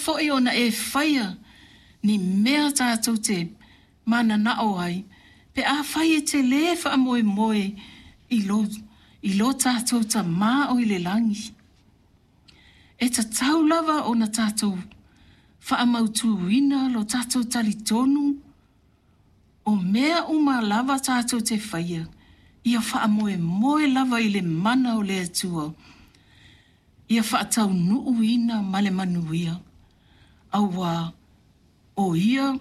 fo'i ona e faia ni mea tatou te manana'o ai pe afai e te lē faamoemoe i lo, i lo tatou Tamā o i le lagi. E tatau lava ona tatou faamautūina lo tatou talitonu o mea uma lava tatou te faia, ia faamoemoe lava i le mana o le Atua, ia faataunuuina ma le manuia, auā o Ia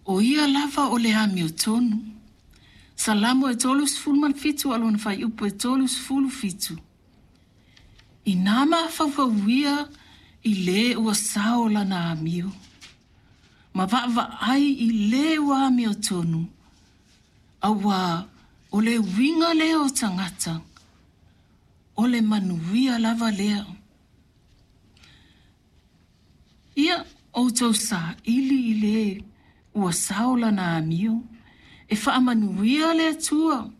O Ia lava o le amiotonu. Salamo e 37 a o lona fuaiupu e 37. Inā mafaufauia i lē ua sao lana amio, ma vaavaai i lē ua amiotonu, auā o le uiga lea o tagata, o le manuia lava lea. Ia outou saili i lē ua sao lana amio, e faamanuia le Atua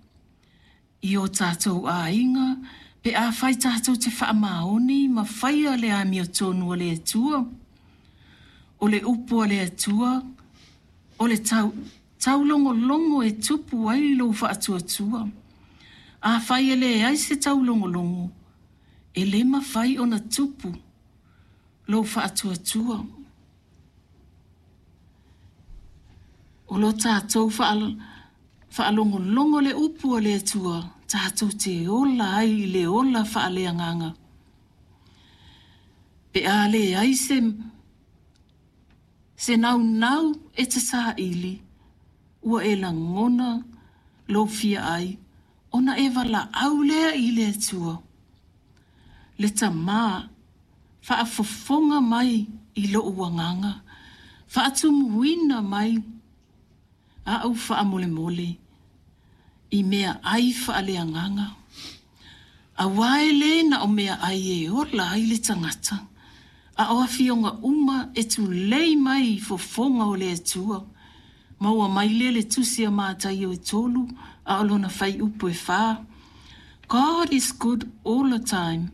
i o tatou aiga pe afai tatou te faamaoni ma faia le amiotonu a le Atua. O le upu a le Atua, o le tau, taulogologo e tupu ai lou faatuatua. Afai e leai se taulogologo, e lē mafai ona tupu lou faatuatua. O lo tatou faalogologo le upu a le Atua, tatou te ola ai i le ola faaleagaga. Pe a leai se, se naunau e te saili, ua e lagona lou fia ai, ona e valaau lea i le Atua. Le Tamā, faafofoga mai i lo'u agaga, faatumuina mai a'u faamolemole i meaai faaleagaga. Auā e lē na o meaai e ola ai le tagata, a o afioga uma e tulei mai i fofoga o le Atua. Maua mai lea le tusi a Mataio e 3 a o lona fuaiupu e 4. God is good all the time.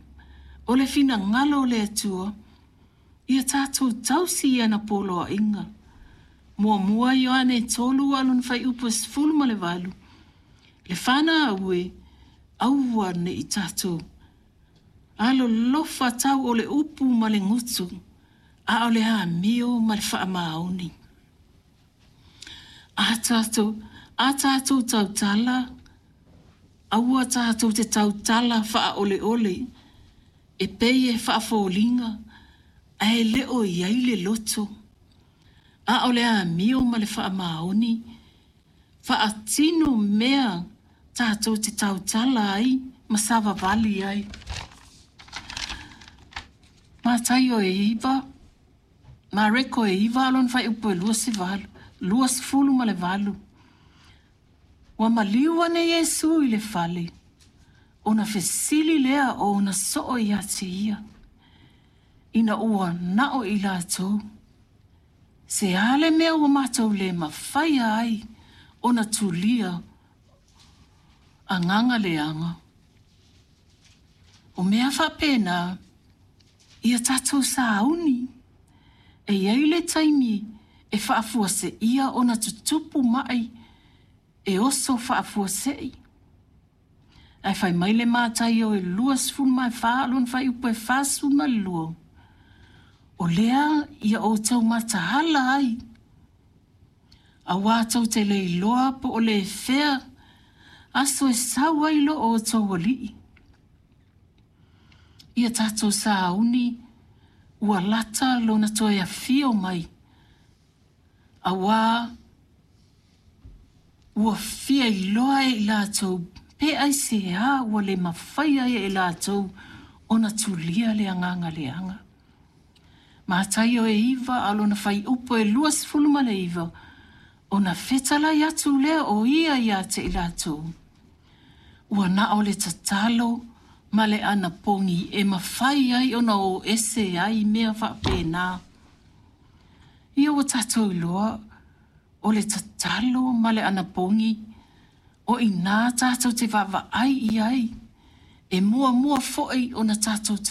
O le finagalo o le Atua, ia tatou tausi i ana poloaiga. Muamua Ioane 3 a o lona fuaiupu e 18. Le fanau e, aua ne i tatou alolofa tau o le upu ma le gutu, a o le amio ma le faamaoni. A tatou, a tatou tautala, aua tatou te tautala faaoleole, e pei e faafoliga ae le o i ai le loto, a o le amio ma le faamaoni, faatino mea tatou te tautala ai ma savavali ai. Mataio e 9, Mareko e 9 a o lona fuaiupu e 28, 28. Ua maliu ane Iesu i le fale, ona fesili lea o ona soo iā te ia, ina ua na'o i latou, Se a le mea ua matou le mafaia ai ona tulia agaga leaga? O mea faapena, ia tatou sauni. E i ai le taimi e faafuaseia ona tutupu ma'i e oso faafuasei. Ae fai mai le Mataio e 24 o lona fuaiupu e 42, O lea ia outou mataala ai, auā tou te le iloa po o le fea aso e sau ai lo outou Alii. Ia tatou sauni ua lata lona toe afio mai, auā ua fia iloa e i latou pe aisea ua le mafai ai e latou ona tulia le agaga leaga. Mataio e 9 a o lona fuaiupu e 29, ona fetalai atu lea o ia iā te i latou, Ua na o le tatalo ma le anapogi e mafai ai ona o ese ai mea faapena. Ia ua tatou iloa, o le tatalo ma le anapogi, o i inā tatou te vaavaai i ai, e muamua foi ona tatou tatalo.